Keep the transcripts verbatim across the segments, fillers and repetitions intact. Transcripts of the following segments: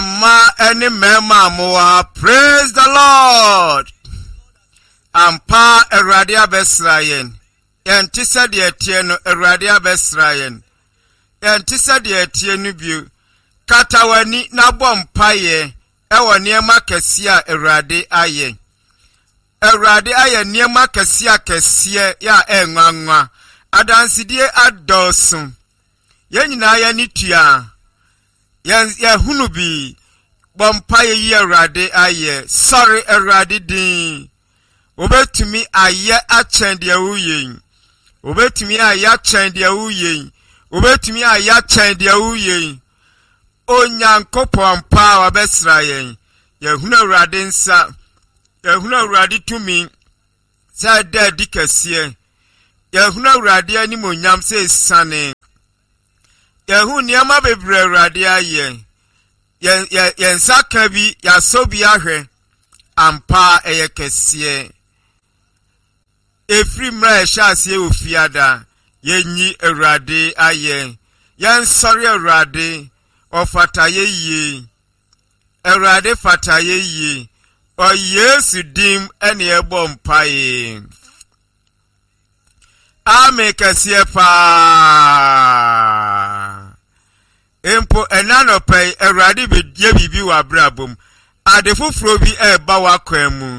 Mmaa ne mmarima a mowɔ ha, praise the Lord. Ampa, Awurade abɛsra yɛn. Yɛnte sɛdeɛ ɛteɛ no, Awurade abɛsra yɛn. Yɛnte sɛdeɛ ɛteɛ no bio. Kata w'ani na bɔ mpaeɛ ɛwɔ nneɛma kɛseɛ a Awurade ayɛ. Awurade ayɛ nneɛma kɛseɛ akɛseɛ yɛ a ɛnwanwa. Adansedie adɔɔso. Yɛn nyinaa yɛn ani tua. Yɛn yɛhunu bi. Bɔ mpaeɛ yi Awurade ayɛ. Sɔre Awurade din. Wobɛtumi ayɛ akyɛn deɛ woyɛ yi. Wobɛtumi ayɛ akyɛn deɛ woyɛ yi. Wobɛtumi ayɛ akyɛn deɛ woyɛ yi. Onyankopɔn paa wabɛsra yɛn. Yɛhunu Awurade nsa. Yɛhunu Awurade tumi sɛ ɛda adi kɛseɛ. Yɛhunu Awurade animuonyam sɛ esiane. Yɛhu nneɛma bebree Awurade ayɛ. Yɛn yɛn yɛn nsa ka bi, yɛasɔ bi ahwɛ. Ampa ɛyɛ kɛseɛ. Ɛfiri mmerɛ a yɛhyɛ aseɛ wɔ fiada, yɛnyi Awurade ayɛ. Yɛnsɔre Awurade, ɔfata yɛyie. Awurade fata yɛyie. Wɔ Yesu din ɛne ɛbɔ mpaeɛ. Amen kɛseɛ paa. Mpo ɛna nɔpɛ yi, Awurade bɛyɛ biribi wɔ abrabɔ mu. Ade foforɔ bi ɛreba w'akwan mu.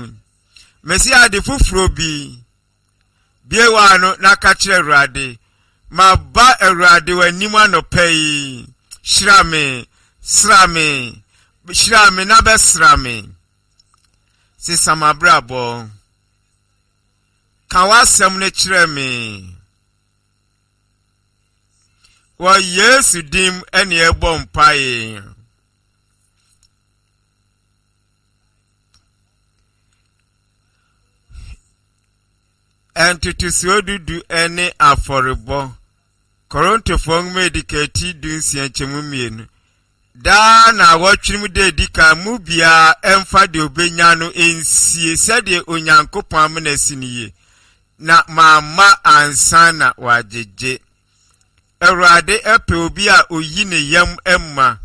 Mesi ade foforɔ bi. Bie w'ano na ka kyerɛ Awurade. Maba Awurade w'anim anɔpɛ yi. Hyira me, sra me, hyira me na bɛsra me. Sesa m'abrabɔ. Ka w'asɛm no kyerɛ me. Wɔ Yesu din ɛne ɛbɔ mpaeɛ. Ntotosoɔ dudu ne afɔrebɔ. Korintofoɔ nwoma edi kan ti du nsia nkyɛmu mmienu. Daa na awɔtwe mu da edi kan mu biara ɛmfa deɛ obenya no nsie sɛdeɛ Onyankopɔn amena si no yie. Na mamma ansa na wagyegye. Awurade pɛ obi a oyi ne yam ma.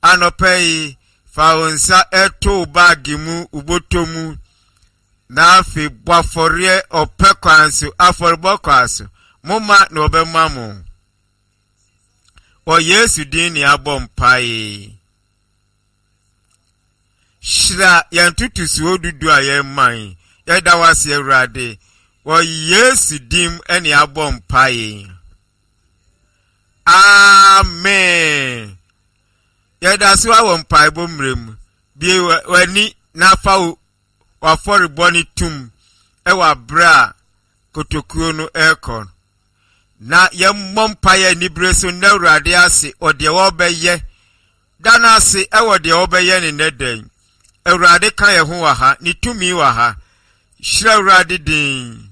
Anɔpa yi, fa wo nsa to wo baage mu, wo bɔtɔ mu, na afei bɔ afɔreɛ ɔpɛ kwan so, afɔrebɔ kwan so. Momma na wɔbɛma mo. Wɔ Yesu din ne abɔ mpae. Hyira yɛn ntotosoɔ dudu a yɛma yi. Yɛda wo ase Awurade. Wɔ Yesu din ne abɔ mpae. Amen. Yɛda so wɔ mpaebɔ mmerɛ mu. Bie w'ani na fa wo w'afɔrebɔ no tum wɔ aberɛ a kotokuo no rekɔ no. Na yɛmmɔ mpaeɛ anibere so nna Awurade ase wɔ deɛ wɔbɛyɛ. Da no ase wɔ deɛ wɔbɛyɛ ne nnɛ da yi. Awurade ka yɛn ho wɔ ha, ne tumi wɔ ha. Hyira Awurade din.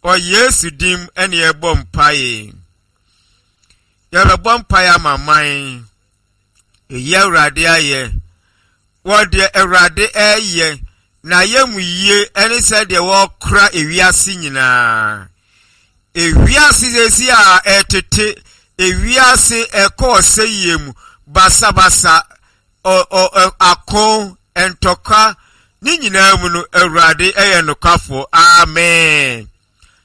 Wɔ Yesu din ɛne yɛbɔ mpaeɛ. Yɛbɛbɔ mpaeɛ ama man. Ɛyi Awurade ayɛ. Wɔ deɛ Awurade ɛreyɛ na yɛ mu yie ɛne sɛdeɛ wɔrekora ewiase nyinaa. Ewiase sɛsi a ɛtete, ewiase ɛkɔ ɔsɛyie mu, basabasa, ɔ ɔ ako, ntɔkwa, ne nyinaa mu no, Awurade ɛyɛ nokwafoɔ. Amen.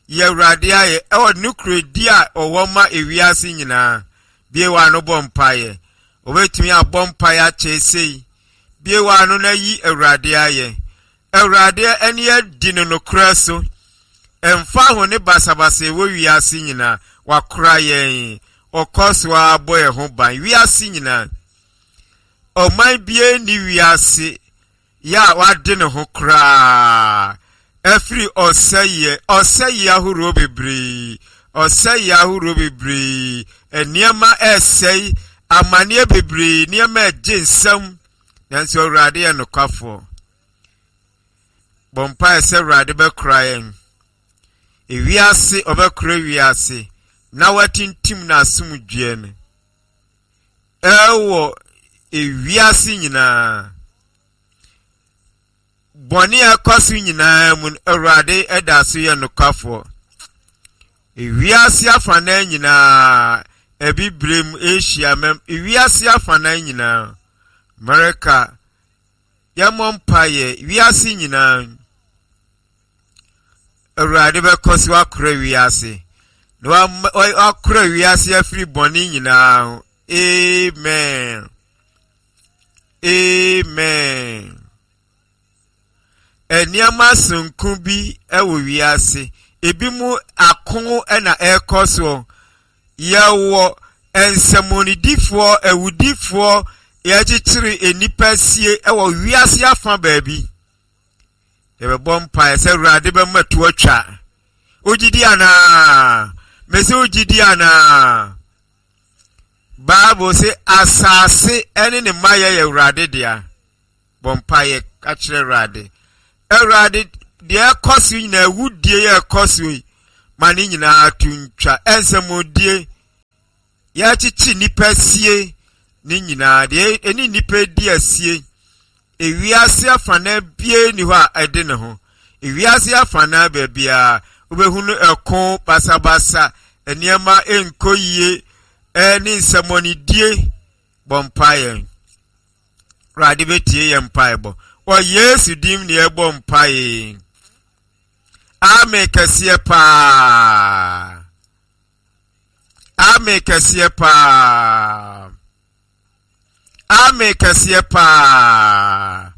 Yɛ Awurade ayɛ ɛwɔ nokorɛdi a ɔwɔ ma ewiase nyinaa. Bie w'ano bɔ mpaeɛ. Obetumi abɔ mpaeɛ akyɛ sei. Bie w'ano na yi Awurade ayɛ. Awurade ani adi no nokorɛ so. Ɛmfa ho ne basabasa ɛwɔ wiase nyinaa, wakora yɛn. Ɔkɔ so ara bɔ yɛn ho ban. Wiase nyinaa. Ɔman biara nni wiase yɛ a wade ne ho koraa afiri ɔsɛeɛ, ɔsɛeɛ ahoroɔ bebree, ɔsɛeɛ ahoroɔ bebree, nneɛma ɛresɛe, amanneɛ bebree, nneɛma ɛgye nsam, nanso Awurade yɛ nokwafoɔ. Bɔ mpaeɛ sɛ Awurade bɛkora yɛn. Ewiase, ɔbɛkora wiase na watintim n'asomdwoeɛ no ɛwɔ ewiase nyinaa. Bɔne a ɛkɔ so nyinaa mu no, Awurade da so yɛ nokwafoɔ. Ewiase afanan nyinaa, Abibirem, Asia, mɛm, ewiase afanan nyinaa, America, yɛmmɔ mpaeɛ wiase nyinaa. Awurade bɛkɔ so akora wiase na wakora wiase afiri bɔne nyinaa ho. Amen. Amen. Nneɛma sononko bi wɔ wiase. Ebi mu ako na ɛrekɔ soɔ. Yɛwɔ nsɛmmɔnedifoɔ, awudifoɔ, yɛkyekyere nnipa sie wɔ wiase afa baabi. Yɛbɛbɔ mpaeɛ sɛ Awurade bɛma to atwa. Wogye di anaa? Mese wogye di anaa? Bible se asase ne ne mayɛ yɛ Awurade dea. Bɔ mpaeɛ ka kyerɛ Awurade. Awurade, deɛ ɛkɔ so nyinaa, awudie yɛ ɛkɔ so yi, ma ne nyinaa to ntwa. Ɛnsɛmmɔdie, yɛakyekye nnipa sie ne nyinaa, deɛ ɛne nnipa di asie. Ewiase afanan bie ni hɔ a ɛde ne ho. Ewiase afanan baabiara, wobɛhunu ɛko basabasa, nneɛma nkɔ yie, ɛne nsɛmmɔnedie. Bɔ mpaeɛ. Awurade bɛtie yɛn mpaebɔ. Wɔ Yesu dim ne yɛbɔ mpaeɛ. Amen kɛseɛ paa. Amen kɛseɛ paa. Amen kɛseɛ paa.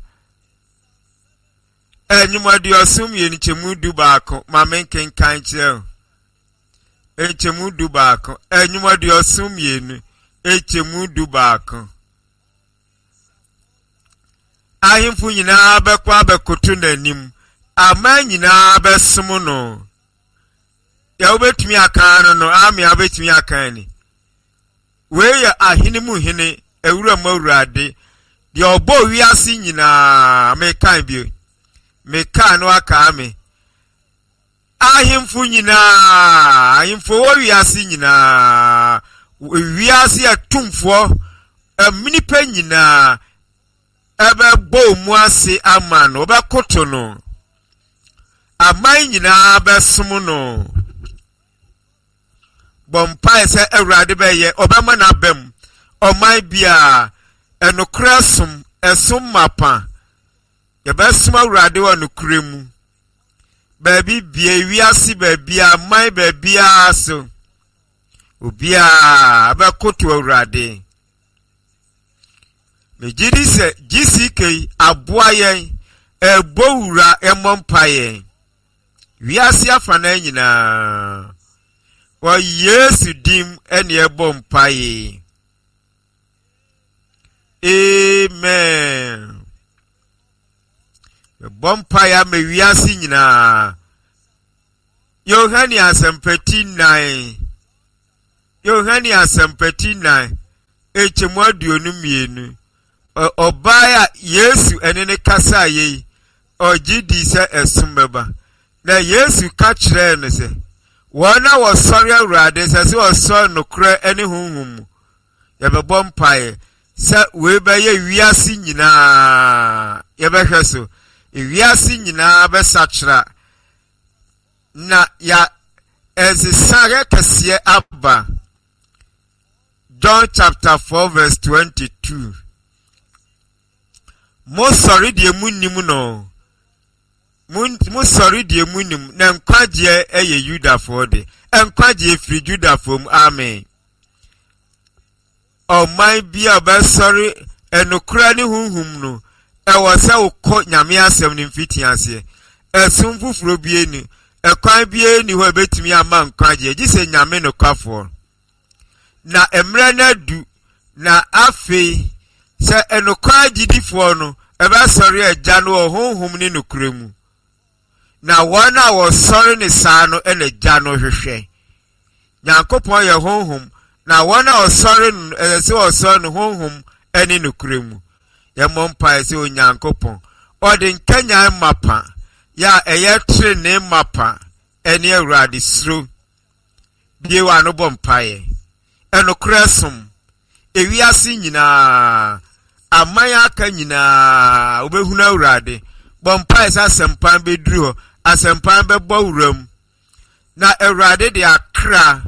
Ɛnwom aduɔson mmienu nkyɛmu du baako ma me nkenkan kyerɛ wo. Nkyɛmu du baako. Ɛnwom aduɔson mmienu nkyɛmu du baako. Ahemfo nyinaa bɛkɔ abɛkoto n'anim. Aman nyinaa bɛsom no. Deɛ wobɛtumi aka no no, ame a wobɛtumi aka ni. Wei yɛ ahene mu hene, awura mu awurade. Deɛ ɔbɔ wiase nyinaa, mekan bio. Mekaa no aka me. Ahemfo nyinaa, ahemfo wɔ wiase nyinaa, wiase atumfoɔ, nnipa nyinaa, ɛbɛbɔ mu ase ama no, wɔbɛkoto no. Aman nyinaa bɛsom no. Bɔ mpae sɛ Awurade bɛyɛ, ɔbɛma n'aba mu. Ɔman biara, ɛnokorɛ som, ɛsom mapa. Yɛbɛsom Awurade wɔ nokorɛ mu. Baabi bie, wiase baabiara, aman baabiara so. Obiara bɛkoto Awurade. Megye di sɛ G C K aboa yɛn, ɛbɔ wura ɛmmɔ mpaeɛ. Wiase afanan nyinaa. Wɔ Yesu dim ɛne ɛbɔ mpaeɛ. Amen. Bɛbɔ mpaeɛ ama wiase nyinaa. Yohane Asɛmpati nnan. Yohane Asɛmpati nnan. Nkyɛmu aduonu mmienu. Ɔbaa a Yesu ɛne ne kasa yi, ɔgye di sɛ ɛsom bɛba. Na Yesu ka kyerɛɛ no sɛ, wɔn a wɔsɔre Awurade sɛ sɛ wɔsɔre nokorɛ ne honhom mu. Yɛbɛbɔ mpaeɛ sɛ wei bɛyɛ wiase nyinaa. Yɛbɛhwɛ so. Wiase nyinaa bɛsakyera. Na ya ɛnsesaeɛ kɛseɛ aba. John chapter four verse twenty-two. Mo sɔre deɛ mu nim no. Mo sɔre deɛ mu nim na nkwagyeɛ ɛyɛ Yudafoɔ de. Nkwagyeɛ firi Yudafoɔ mu. Amen. Ɔman bi a ɔbɛsɔre ɛnokora ne honhom no, ɛwɔ sɛ wokɔ Nyame asɛm no mfiti aseɛ. Ɛsom foforɔ bi ni, ɛkwan bi ni hɔ a ɛbɛtumi ama nkwagyeɛ, gye sɛ Nyame nokwafoɔ. Na mmerɛ no adu, na afei sɛ ɛnokwa agyidifoɔ no ɛbɛsɔre Agya no wɔ honhom ne nokorɛ mu. Na wɔn a wɔsɔre ne saa no ɛna Agya no hwehwɛ. Nyankopɔn yɛ honhom, na wɔn a wɔsɔre no ɛsɛ sɛ wɔsɔre no honhom ne nokorɛ mu. Yɛmmɔ mpaeɛ sɛ Onyankopɔn ɔde nkanyan mapa yɛ a ɛyɛ trenee mapa ɛne Awurade suro. Bie w'ano bɔ mpaeɛ. Ɛnokorɛ som. Ewiase nyinaa, aman aka nyinaa, wobɛhunu Awurade. Bɔ mpaeɛ sɛ asɛmpa bɛduru hɔ, asɛmpa bɛbɔ wuram. Na Awurade de akra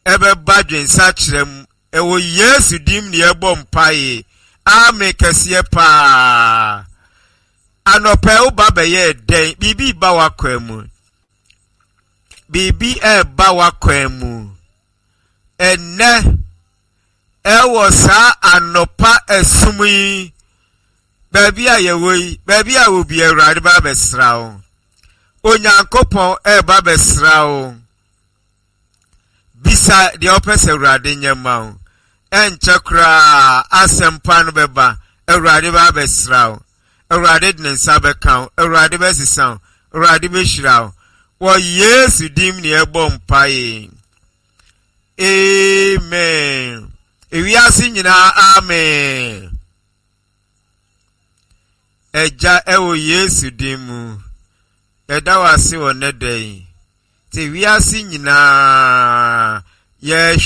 ɛbɛba dwensakyerɛ mu. Ɛwɔ Yesu dim ne yɛbɔ mpaeɛ. Amen kɛseɛ paa. Anɔpa yi woba bɛyɛɛ dɛn? Biribi ba w'akwan mu. Biribi ɛreba w'akwan mu. Ɛnnɛ, ɛwɔ saa anɔpa ɛsum yi, baabi a yɛwɔ yi, baabi a wɔ bi Awurade ba bɛsra wo. Onyankopɔn ɛreba bɛsra wo. Bisa deɛ ɔpɛ sɛ Awurade nyɛ ma wo. Ɛnkyɛ koraa asɛmpa no bɛba. Awurade ba abɛsra wo. Awurade de ne nsa bɛka wo. Awurade bɛsesa wo. Awurade bɛhyira wo. Wɔ Yesu dim ne ɛbɔ mpae. Amen. Ewiase nyinaa amen. Agya ɛwɔ Yesu din mu. Yɛda wo ase wɔ nnɛ da yi. Te wiase nyinaa yɛhwɛ